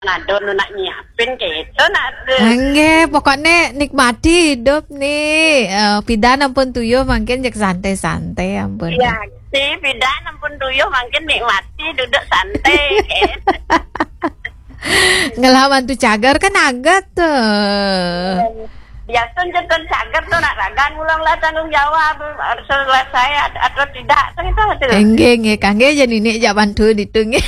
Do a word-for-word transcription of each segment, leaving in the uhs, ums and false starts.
Nado nu nak nyiapin gitu nak tu. Nggih, pokoknya nikmati hidup nih. Eh, pidan ampun tuyuh mangkin jek santai-santai ampun. Iya, si pidan ampun tuyuh mangkin nikmati duduk santai gitu. Ngelah mantu cagar kan agat tuh. Biasa jantan cagar tuh nak ragan ulang lah tanggung jawab harus selesai at- atau tidak tuh itu tuh. Enggih, enggih, kangge aja nini jak bantu ditu nggih.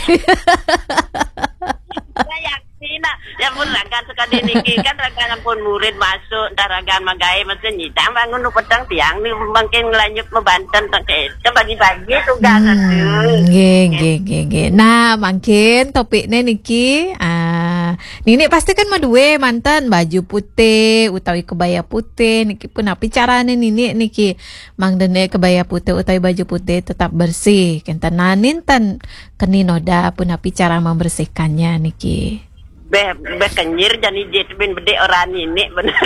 Ya, ya, sih, nak. Ya pun ragan sekali niki kan ragan ampun murid masuk, entah ragan magai mesti nyidang bangun nu petang tiang ni mungkin ngelanjut membanten tak kita bagi-bagi tugas Hmm, tu. Nggih, nggih, nggih, nggih. Nah, mungkin topiknya niki, ah, nini pasti kan mau dua mantan baju putih utawi kebaya putih niki pun api carane nini niki mangdene kebaya putih utawi baju putih tetap bersih. Kenten nanin ten keni noda pun api cara membersihkannya niki. Beh, beh kenyir jani jit bin bedek orang nini benar.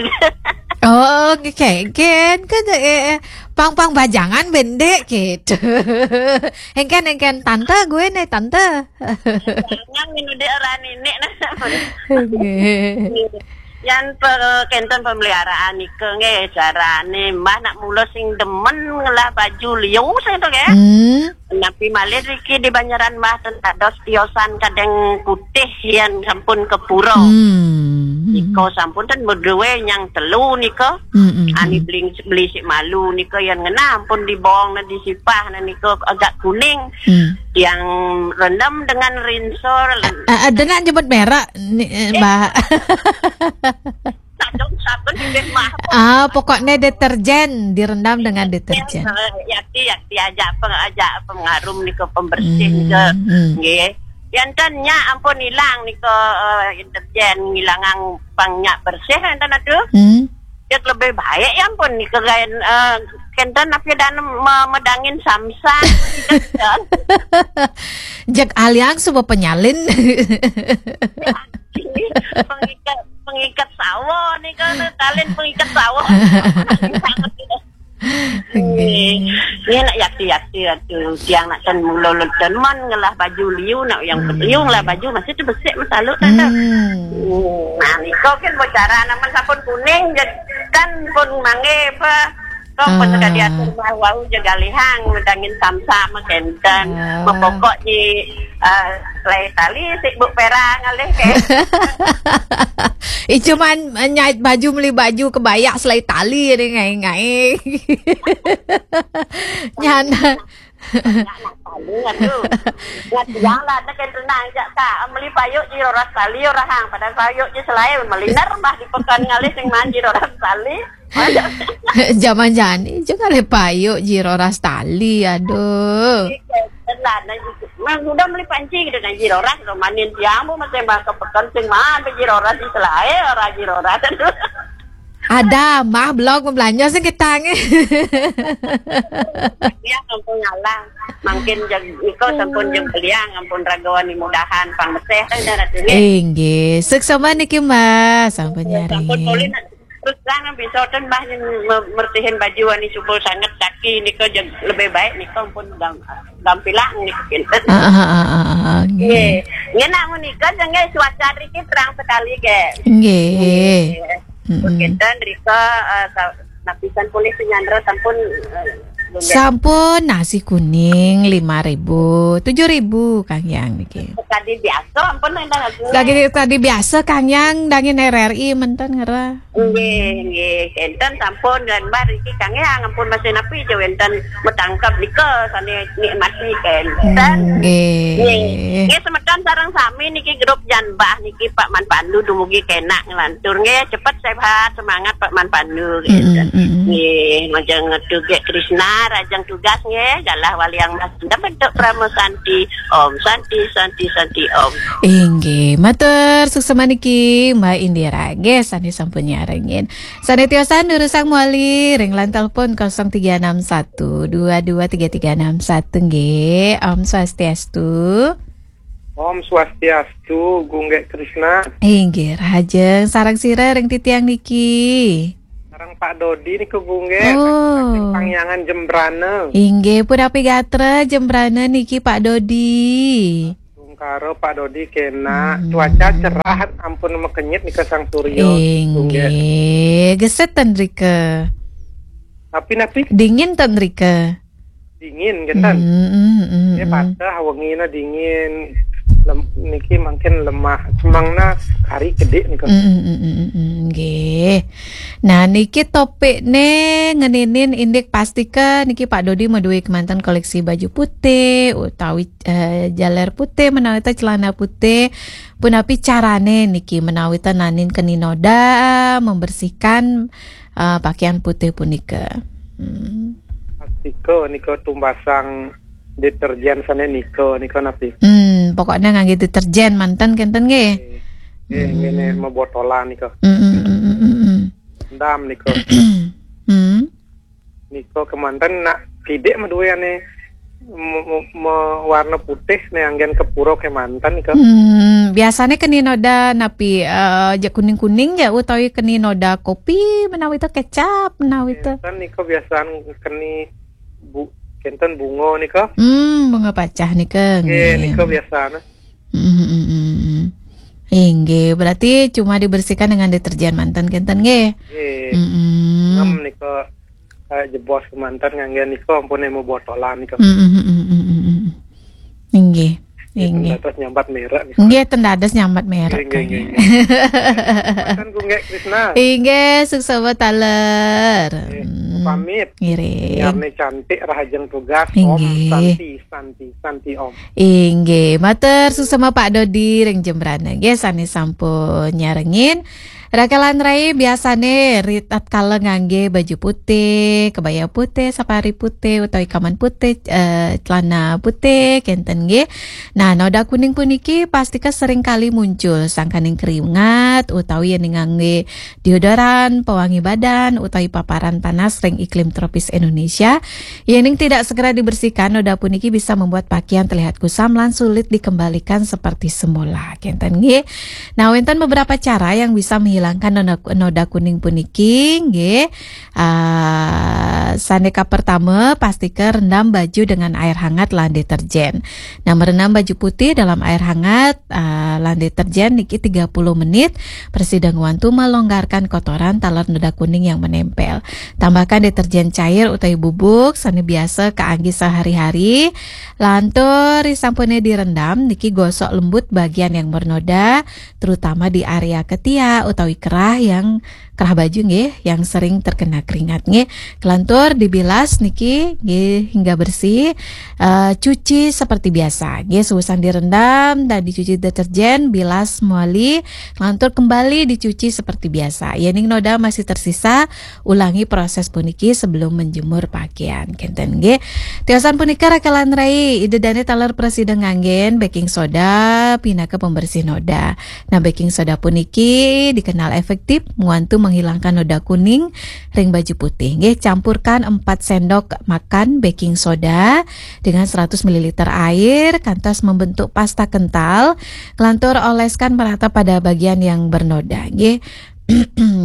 Oh, oke, kan eh, eh, pang-pang bajangan bendek gitu. Engken, engken tante gue nih tante. Jangan minum dek orang nini nah. Nggih. Yan pe, kenten pemeliharaan nika nggih carane mbah nak mula sing demen ngelah baju liu sing tu nggih. Hmm. Napi malih riki di Banjaran mbah ten dados tiosan kadeng putih yan sampun ke pura. Hmm. Nika sampun ten beduwe nyang telu nika. Hmm, hmm, Ani hmm. Beli beli sik malu nika yan ngenah ampun dibong na disipah na nika agak kuning. Hmm. Yang rendam dengan rinsol. Ah, ah, dengan nyebut merek ni, eh, Mbak. Sadong sabun nggih mah. Ah, pokoknya deterjen direndam dengan deterjen. Eh, yakti yakti aja peng aja pengarum nika pembersih Hmm, nika. Hmm. Nggih. Yanten nya ampun hilang nika eh, deterjen ngilangang pang nya bersih enten atuh. Hmm. Dia lebih baik ya ampun nika gaen eh, kenten apa dan me- medangin samsat. Jek aliang suba penyalin. Pengikat pengikat sawah nika talin pengikat sawah. Nggih. Ini nak yakti-yakti atu tiang nak ten mula lenten man ngelah baju liu nak yang Hmm. Liu ngelah baju masih tu besik masalu tante. Hmm. Hmm. Nah, niko kan bocara naman sampun kuning jed- kan pun mangge apa kau pun Hmm. Sekali atur mau wau jaga lihang medangin samsam kenten. Ah. Mepokok di eh, selai tali sik buk perang alih ke. Ih, cuman eh, nyait baju meli baju kebaya selai tali ni ngai-ngai. Nyana. Nak tali aduh. Ngat yang lah nak kena nak jak tak meli payuk ji roras tali orang hang pada payuk ji selai meli nermah di pekan ngalih sing manji roras tali. Zaman jani juga le payuk ji roras tali aduh. Telat nak Mang udah meli panci kita nak ji roras romanin tiang bu masih bang ke pekan sing man ji roras di selai orang ji roras. Ada mah blog belanja sing kita nge. Dia kampung ngalang. Mungkin jag iko sampun jag beliang ampun ragawan ni mudahan pang meseh kan dah ratu ni. Inggih, suksma niki Mbah, sampun nyari. Sampun polin terus terang bisa ten Mbah yang me- mertihin baju ani subul sangat kaki niko jag lebih baik niko pun gam gampilang niko kinten. Ah, ah, ah, ah, ah, nggih. Nggih. Nggih nak menika jengai cuaca riki terang sekali ge. Nggih. Nggih. Mm-mm. Kinten rika uh, sa- lapisan polih penyandera sampun uh, Sampun nasi kuning lima ribu, tujuh ribu Kang Yang niki. Tadi biasa ampun dah lagu. Lagi tadi biasa Kang Yang dangin R R I menten ngera. Nggih, nggih. Enten sampun dan bar iki Kang Yang ampun masih napi je enten metangkap nika sane nikmati kenten. Nggih. Nggih. Nggih semeton sareng sami niki grup Janbah niki Pak Man Pandu dumugi kenak ngelantur nggih cepet sehat semangat Pak Man Pandu. Mm, mm, mm, mm. Nggih, majeng ngetu ge Krishna rajang tugas nggih galah waliang mas bentuk Prama Santi. Om Santi Santi Santi Om. Inggih, matur suksma niki Mbak Indira nggih sane sampun nyarengin. Sane tiosan durusang mawali ring line telepon kosong tiga enam satu dua dua tiga tiga enam satu nggih. Om Swastiastu. Om Swastiastu, Gung Gek Krishna. Inggih, rahajeng sareng sira ring titiang niki. Sareng Pak Dodi niku Gung Gek. Oh. Saking Pangyangan Jembrana. Inggih, punapi gatra Jembrana niki Pak Dodi. Gung Karo Pak Dodi kena. Hmm. Cuaca cerah, ampun makenyit nika sang surya. Tunggak. Inggih, geset ten rika. Tapi napi Dingin ten rika. Dingin kan? Hmm, hmm, hmm, Ya hmm. Patah wengina dingin. Lem, niki mangkin lemah. Semangna kari kedik nika. Hmm, hmm, hmm, hmm, hmm, nggih. Nah, niki topik ne ngeninin indik pastika niki Pak Dodi maduwe kemanten koleksi baju putih utawi eh, jaler putih menawi ta celana putih. Punapi carane niki menawi ta nanin keni noda membersihkan eh, pakaian putih punika. Hmm. Pastika nika tumbasang deterjen sane nika, nika napi? Hmm, pokoknya ngangge deterjen manten kenten nggih. Eh, ngene mebotolan nika. Hmm, hmm, hmm, hmm, hmm, hmm. Ndam nika. Hmm. Nika kemanten nak pidik maduwe ane me- me- me- warna putih ne anggen kepura kemanten nika. Hmm, biasanya keni noda napi eh, ja kuning-kuning ja utawi keni noda kopi menawi ta kecap menawi ta. Kan nika biasaan keni bu kenten bunga nika. Hmm, bunga pacah nika. Nggih, Nggih. Nika biasaan. Hmm, hmm, hmm, hmm. Inggih, berarti cuma dibersihkan dengan deterjen manten kenten nggih. Nggih. Hmm. Ngem nika eh, jebos kemanten ngangge nika ampun emo botolan nika. Hmm, hmm, hmm, hmm, hmm, hmm. Inggih. Inggih. Terus nyambat merek nih. Nggih, ten dados nyambat merek. Nggih, nggih, nggih. Kan Gunggek Krisna. Inggih, suksma taler. Nggih, Hmm. Pamit. Ngiring. Biar nih cantik rahajeng tugas. Om Inggih. Santi, Santi, Santi Om. Inggih, matur suksma Pak Dodi ring Jembrana nggih sane sampun nyarengin. Rakelan rai biasane ri tatkala ngangge baju putih, kebaya putih, sapari putih utawi kaman putih, eh, celana putih kenten nggih. Nah, noda kuning puniki pastika sering kali muncul sangkaning keringat utawi yen ngangge deodoran, pewangi badan utawi paparan panas ring iklim tropis Indonesia. Yening tidak segera dibersihkan, noda puniki bisa membuat pakaian terlihat kusam lan sulit dikembalikan seperti semula. Kenten nggih. Nah, wenten beberapa cara yang bisa menghilangkan noda, noda kuning puniki nggih. Ah, sane kapertama, pastika rendam baju dengan air hangat lan deterjen. Nah, merendam baju putih dalam air hangat ah, lan deterjen niki tiga puluh menit, prasida ngwantu melonggarkan kotoran taler noda kuning yang menempel. Tambahkan deterjen cair utawi bubuk sane biasa kaangge sehari-hari. Lan tur risampune direndam niki gosok lembut bagian yang bernoda, terutama di area ketiak utawi kerah yang kerah baju nggih yang sering terkena keringat nggih. Kelantur dibilas niki nggih hingga bersih. Eh, cuci seperti biasa nggih, seusan direndam dan dicuci deterjen, bilas mawali, kelantur kembali dicuci seperti biasa. Yening noda masih tersisa, ulangi proses puniki sebelum menjemur pakaian. Kenten nggih. Tiosan punika rakelan rai, ida dane taler prasida nganggen baking soda pinaka pembersih noda. Nah, baking soda puniki dikenal efektif ngwantu menghilangkan noda kuning ring baju putih. Nggih, campurkan empat sendok makan baking soda dengan seratus mililiter air kantos membentuk pasta kental. Kelantur oleskan merata pada bagian yang bernoda. Nggih.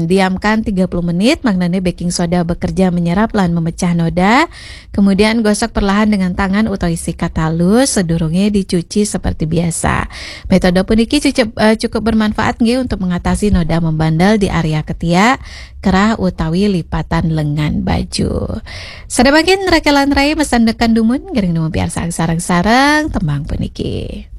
Diamkan tiga puluh menit, maknanya baking soda bekerja menyerap lan memecah noda. Kemudian gosok perlahan dengan tangan utawi sikat halus sedurunge dicuci seperti biasa. Metode puniki cukup, eh, cukup bermanfaat nggih untuk mengatasi noda membandel di area ketiak, kerah utawi lipatan lengan baju. Sada mangkin rakelan rai masandekan dumun, ngiring dumun piarsang sareng-sareng tembang puniki.